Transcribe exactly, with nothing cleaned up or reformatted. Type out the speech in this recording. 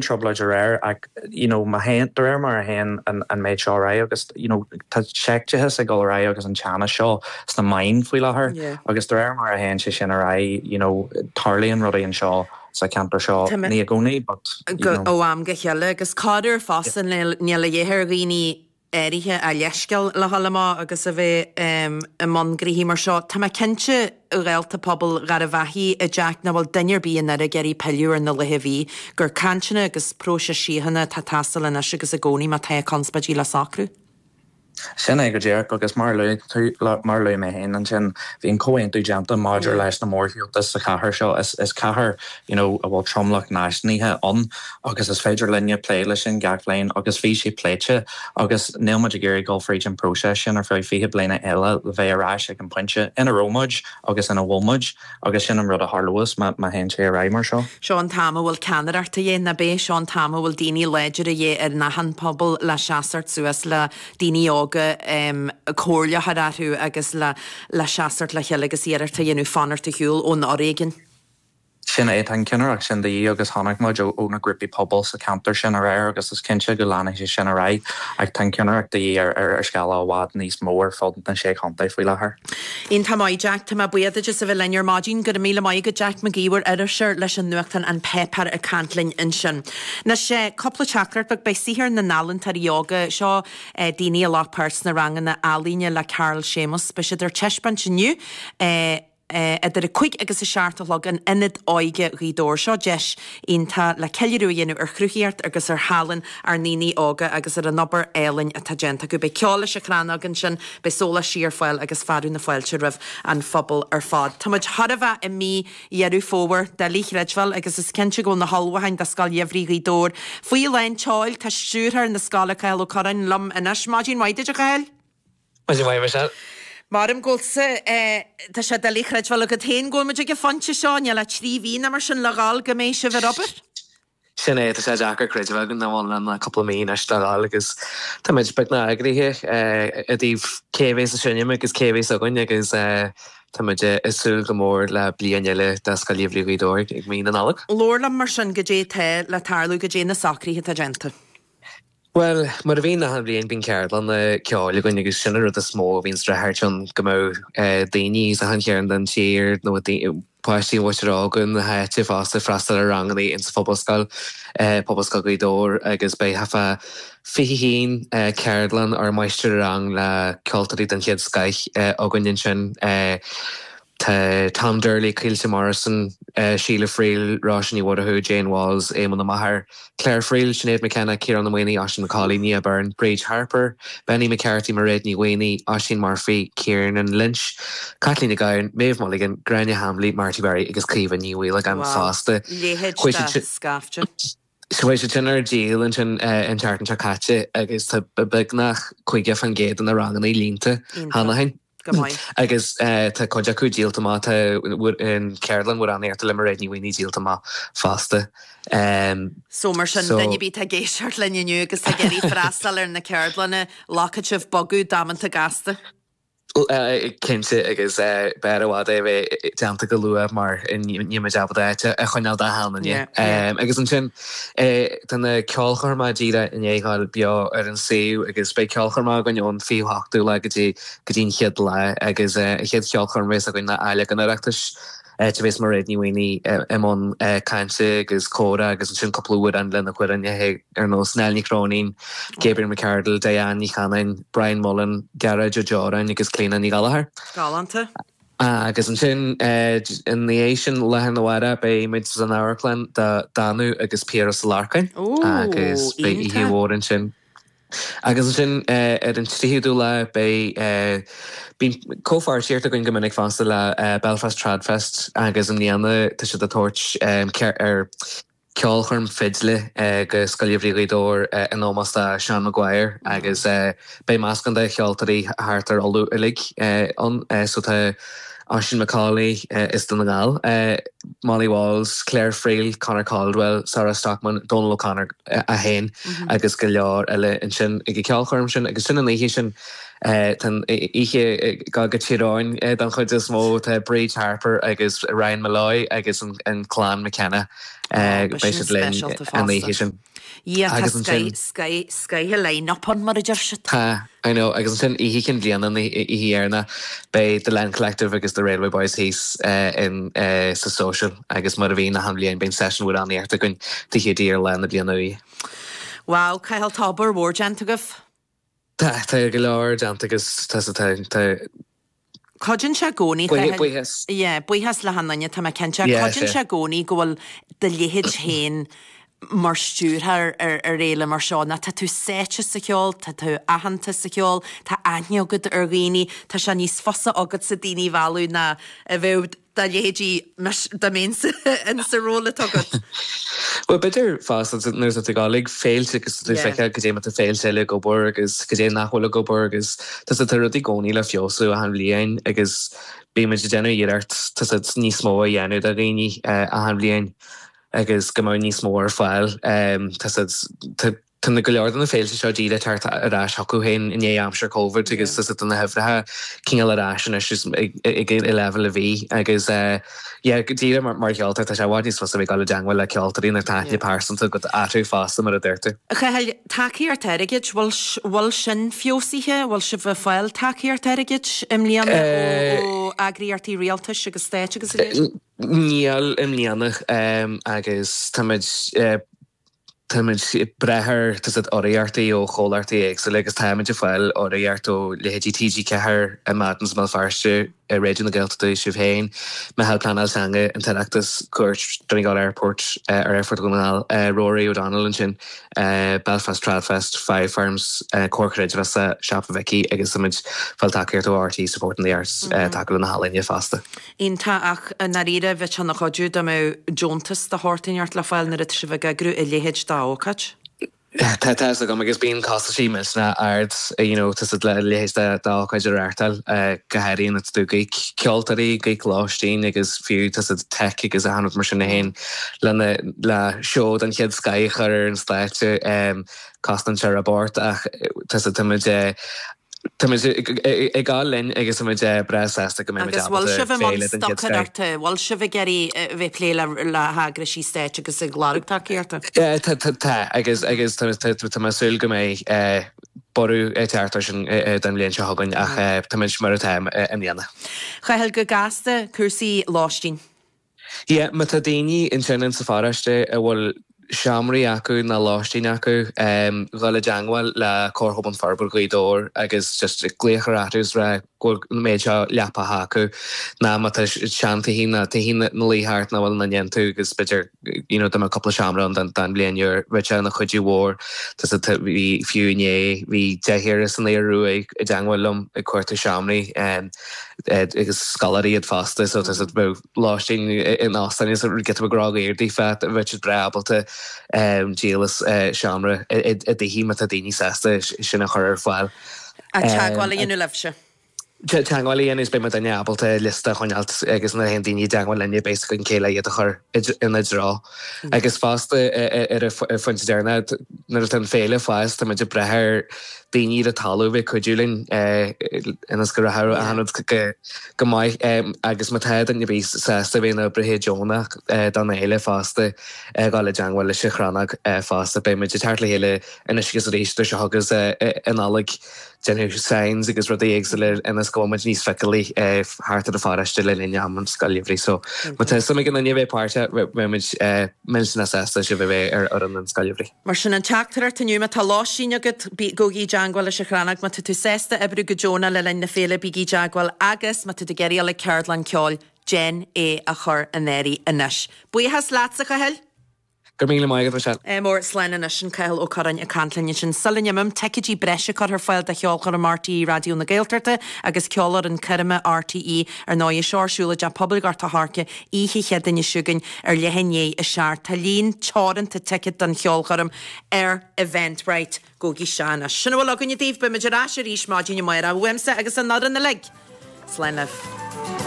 Trioblóid aréir ach you know, má théann de réir mar a théann an, an méid seo ar aghaidh agus you know, tá seicteachas ag dul ar aghaidh agus an teannas seo sna meáin faoi láthair Yeah. agus de réir mar a théann sé sin ar aghaidh you know, tarlaíonn rudaí anseo sa cheantar seo Tá mé- ní i gcónaí but you Go know, ó am go chéile agus caidir fosta níl a dhath ar dhaoine áirithe a leithscéal le haghaidh amach agus a bheith um, i mbun gnoithí mar seo. Tá mé cinnte gaolta pobal Gharbhachaidh a Jack nach bhfuil duine ar bith in ag iarraidh pilleadh ar na laetha a bhí, gur cainteanna agus próiseas síochána atá ag teastáil anois agus i gcónaí má tá conspóidí le socrú. Sin é go díreach agus mar luaigh tú mar luaigh mé féin ansin bhí an comhaontú déanta maidir leis na mórshiúlta sa chathair seo is is cathair you know, a bhfuil tromlach náisiúnaithe ann agus is féidir linne plé leis sin gach bliain agus bhí sé pléite agus níl muid ag iarraidh dul fríd an próiseas sin ar feadh fiche bliana eile le bheith ar ais ag an pointe ina raibh muid agus ina bhfuil muid agus sin an rud a tharlós má má théann sé ar aghaidh mar seo. Seo an t-am a bhfuil ceannaireacht a dhéanamh bé seo an t-am a bhfuil daoine láidir a dhé ar nachan pobal le seasamh suas le daoine óga um, comhairle a chur orthu agus le le seasamh le chéile agus iarracht a dhéanamh fanacht ar shiúl ón fhoréigean. Sin é an ceannaireacht sin de dhíth agus tháinig muid ó ó na grúpaí pobail sa cheantar sin aréir agus is cinnte go leanfaidh sé sin ar aghaidh ach tá ceannaireacht de dhíth ar ar ar scála i bhfad níos mó ar fud na sé chontae faoi láthair. Iontach maith Jack tá mé buíoch duit as a bheith linn ar maidin go míle maith go Jack Mac Íomhair iriseoir leis an nuachtán An Páipéar ag caint linn ansin. Na sé cúpla teachtaireacht beidh saothar na n-ealaíontóirí óga seo eh, daoine a ghlac páirt sna ranganna ealaíne le Carl Séamus, beidh siad ar taispeáint inniu. Eh, eh, idir a cúig agus a seacht a chlog in Ionad Óige Ghaoth Dobhair seo deis iontach le ceiliúradh a dhéanamh ar chruthaíocht agus ar thallann ár ndaoine óga agus ar an obair álainn atá déanta acu. Beidh ceol leis an chrannóg ansin, beidh sóláistí ar fáil agus fearadh na fáilte roimh an phobal ar fad. Tá muid thar a bheith i mí Dheireadh Fómhair doiligh a chreidbheáil agus is cinnte go bhfuil na hullmhúcháin do Scoil Gheimhridh Ghaoth Dobhair. Faoi lán tseoil tá stiúrthóir na scoile Cathal Ó Curráin liom anois maidin mhaith duit a Chathail? Maidin mhaith Michelle. Maram ggóilsa tá sé doiligh a chreidbheáil agat féin go bhfuil muid ag an phointe seo níl ach trí mhí nó mar sin le dhul go mbeidh sibh ar obair? Sin é tá sé deacair creidbheáil go bhfuil an cúpla mí anois le dhul agus tá muid beagnach eagraithe i dtaobh cé bheas ag seinm agus cé bheas againn agus tá muid ag súil go mór le bliain eile de Scoil Gheimhridh Ghaoth Dobhair ag mí na Nollag. Labhair liom mar sin goidé tá le tarlú goidé na socruithe atá déanta. Well, mar a bhíonn achan bhliain bíonn ceardlanna ceoil againn agus sin an rud is mó a bhíonn streachailt ann go mbeadh daoine as achan chearn den tír nó páistí mhuintir óga na háite fosta freastal ar ranganna in sa phobalscoil Pobalscoil Ghaoth Dobhair agus beidh thart fá fiche haon ceardlann ar máistir-rang le ceoltóirí den chéad scoth againn ansin. Tá Tom Durley, Caoilte Morrison, Sheila Friel, Róisín Ní Mhurchú, Jane Walls, Éamonn Ó Maher, Claire Friel, Sinéad McKenna, Ciarán Ó Maonaigh, Oisín McCauley, Nia Byrne, Bríd Harper, Benny McCarthy, Mairéad Ní Mhaonaigh, Oisín Murphy, Kiernan Lynch, Kathleen Ní Gabhann, Maeve Mulligan, Gráinne Hamley, Marty Barry agus Caoimhe Ní Mhaolagáin fosta. Leithéid scaifte. Chuaigh siad sin ar díol ansin an tseachtain seo caite agus tá beagnach caoga faoin gcéad de na ranganna líonta cheana féin. Go maith. Agus tá cuid acu díolta amach tá an ceardlann amhránaíochta le Mairéad Ní Mhaonaigh díolta amach fosta. So mar sin duine ar bith atá ag éisteacht linn inniu agus tá ag iarraidh freastal ar na ceardlanna caithfidh sibh bogadh damanta gasta. Cinnte agus b'fhearr i bhfad é a bheith déanta go luath mar níl muid ábalta áit a choinneáil d'achan duine. Agus ansin tá na ceolchoirmeacha díreach i ndiaidh a ghabháil beo ar an suíomh agus beidh ceolchoirme againn ón fiche hochtú lá go dtí go dtí an chéad lá agus an chéad cheolchoirm a bheas againn ná Áilleog an Oireachtais áit a bheas Mairéad Ní Mhaonaigh i mbun cainte agus comhrá agus ansin cúpla amhrán lena hamhránaithe ar nós Nell Ní Chróinín, Gabriel McArdle, Diane Ní Chanainn, Brian Mullen, Gearóid Ó Deoráin agus Clíona Ní Ghallchóir. Galánta. Agus ansin ina dhiaidh sin lá arna mhárach beidh muid san amharclann do Danú agus Piaras Ó Lorcáin agus beidh oíche mhór ansin. Agus ansin ar an tríochadú lá beidh bíonn comhpháirtíocht againn go minic fosta le Belfast Tradfest agus i mbliana tá siad ag tabhairt ar ceolchoirm fidle go Scoil Gheimhridh Ghaoth Dobhair in ómós do Seán Maguire agus beidh meascán de cheoltóirí thart ar Uladh uilig ann so tá Oisín McCauley as Dún na nGall, Molly Walls, Claire Friel, Conor Caldwell, Sarah Stockman, Donal O'Connor a haon agus go leor eile ansin ag an ceolchoirm sin agus sin an oíche sin Tá an oíche ag gabháil go Tír Eoghain don chuid is mó, tá Bríd Harper agus Ryan Molloy agus an clann McKenna beidh siad linn an oíche sin. Yeah, tá sky sky line-up ann mar a deir siad. Tá, I know, agus ansin oíche chinn bliana an oíche dheireanach beidh The Len Collective agus The Railway Boys thíos in sa Social agus mar a bhíonn achan bhliain bíonn seisiún amhránaíochta againn taobh thiar di ar lá na bliana úire. Wow, Cathal, tá obair mhór déanta agaibh. Tá, tá go leor déanta agus tá tá tá Cuidíonn sé i gcónaí Buíochas. Yeah, buíochas le achan duine tá mé cinnte. Cuidíonn sé i gcónaí go bhfuil do leithéid féin mar stiúrthóir ar ar fhéile mar seo ná tá tú sáite sa cheol, tá tú aitheanta sa cheol, tá aithne agat ar dhaoine, tá sé níos fusa agatsa daoine a mhealladh ná a bheadh dá leithéidí dá mbeinnse in sa ról atá agat. Well b'fhéidir fosta nuair atá tú ag dul ag féilte agus tú feiceáil goidé mar tá féilte eile ag obair agus goidé nach bhfuil ag obair agus tá tá rudaí i gcónaí le feabhsú achan bhliain agus bímid ag déanamh iarracht tá níos mó a dhéanamh do dhaoine achan bhliain agus go mbeadh níos mó ar fáil. Tá Tá na go leor de na féilte seo díreach teacht ar ais chucu féin i ndiaidh aimsir Covid agus tá na huimhreacha cineál ar ais anois ag ag an leibhéal a bhí agus yeah díreach mar mar cheoltóir tá sé i bhfad níos fusa a bheith ag dul i dteangmháil le ceoltóirí nuair atá aithne pearsanta agat orthu fosta mar a dúirt tú. A Chathail, tacaíocht airgid, bhfuil bhfuil sin feabhsaithe? Bhfuil sibh ag fáil tacaíocht airgid i mbliana ó eagraíochtaí rialtais agus stáit agus a leithéid? Níl i mbliana agus táimid Táimid ag brath ar tá siad urraíochtaí ó chomhlachtaí éagsúla agus táimid ag fáil urraíocht ó leithéidí TG Ceathair, Adhmaidean i mBéal Feirste, Raidió na Gaeltachta, sibh féin, Meitheal Pleanála Teanga, an tOireachtas, Cúirt Donegal Airport, ar Aerfort Dhún na nGall, Rory O'Donnell ansin, Belfast Tradfest, Five Farms, Comhar Creidmheasa, Siopa Mhicí agus táimid ag fáil tacaíocht ó RTÉ Supporting the Arts tacú le na healaíona fosta. Iontach ach i ndáiríre bheadh sé ina chuidiú dá mbeadh deontas de shórt inteacht le fáil nuair atá sibh ag eagrú a leithéid d'ócáid. Tá tá fhios agam agus bíonn costaisí millteanach ard you know tá siad le a leithéid de d'ócáid a reáchtáil go háirithe nuair atá tú ag íoc ceoltóirí, ag íoc lóistín agus fiú tá siad tech agus achan rud mar sin féin lena le seó den chéad scoth a chur ar an stáitse cosnaíonn sé rabort ach tá siad táimid Táimid ag gabháil linn agus táimid breá sásta go mbeimid Agus bhfuil ábalta sibh i mbun féile den chéad scoth. stocaireachta, bhfuil sibh ag iarraidh a bheith ag plé le le heagraisí stáit agus ag lorg tacaíochta? Tá, tá, tá agus agus tá tá tá mé ag súil go mbeidh borradh ag teacht air sin don bhliain seo chugainn ach táimid mar atá i mbliana. Chathail, go gasta, cúrsaí lóistín. Yeah, má tá daoine ansin in sa pharóiste a bhfuil seomraí acu nó lóistín acu, dhul i dteangmháil le Comharchumann Forbartha Ghaoth Dobhair agus just glaoch orthu is rá go bhfuil an méid seo leapacha acu nó má tá seantithe nó tithe ina luí thart nach bhfuil ina ndéantú agus b'fhéidir you know dá mbeadh cúpla seomra ann don don bhliain úr bheadh sé ina chuidiú mhór. Tá sa bhí fiú inné bhí deirfiúr as an Iora Ruaidh i dteangmháil liom ag cuartú seomraí agus scoláirí iad fosta so tá siad bheadh lóistín in óstáin is giota beag ródhaor daofa bheadh siad breá ábalta díol as seomra i dtithe má tá daoine sásta sin a chur ar fáil. Teagmháil a dhéanamh libhse. Teagmháil a dhéanamh is beidh muidne ábalta liosta a choinneáilt agus nuair a théann daoine i dteagmháil linne beidh a fhios againn cé le iad a chur ina dtreo. Agus fosta ar an phointe deireanach nuair atá an féile ag fás táimid ag brath ar daoine ar an talamh ag cuidiú linn ionas go rachadh achan rud go maith agus má tá duine ar bith sásta a bheith ina oibrithe deonach don fhéile fosta dhul i dteangmháil leis an Chrannóg fosta. Beidh muid ag teacht le chéile anois agus arís idir seo agus an Nollaig déanamh signs agus rudaí éagsúla ionas go bhfuil muid níos feiceálaí thart ar an pharóiste le linn am an Scoil Gheimhridh. So má tá suim ag aon duine a bheith páirteach beidh muid millteanach sásta sibh a bheith ar fhoireann an Scoil Gheimhridh. Mar sin an teachtaireacht inniu, má tá lóistín agat, gabhaigí i dteangmháil leis an Chrannóg, má tá tú sásta oibriú go deonach le linn na féile, bígí i dteagmháil agus má tá tú ag iarraidh dul ag ceardlann ceoil, déan é a chur in áirithe anois. Buíochas leatsa, a Chathail! Go raibh míle maith agat, Michelle. Ádh mór, slán anois, sin Cathal Ó Curráin ag caint linn ansin. Sula n-imím, ticéidí breise curtha ar fáil do cheolchoirm RTÉ Raidió na Gaeltachta agus ceolfhoireann coirme RTÉ ar ndóigh. Seo ar siúl i dTeach Pobail Ghort a' Choirce oíche Chéadaoine seo chugainn ar leath i ndiaidh a seacht. Tá líon teoranta ticéad don cheolchoirm ar Eventbrite. Gabhaigí isteach anois. Sin a bhfuil againne daoibh. Beimid ar ais arís maidin amárach. Uaimse agus an fhoireann uilig. Slán libh.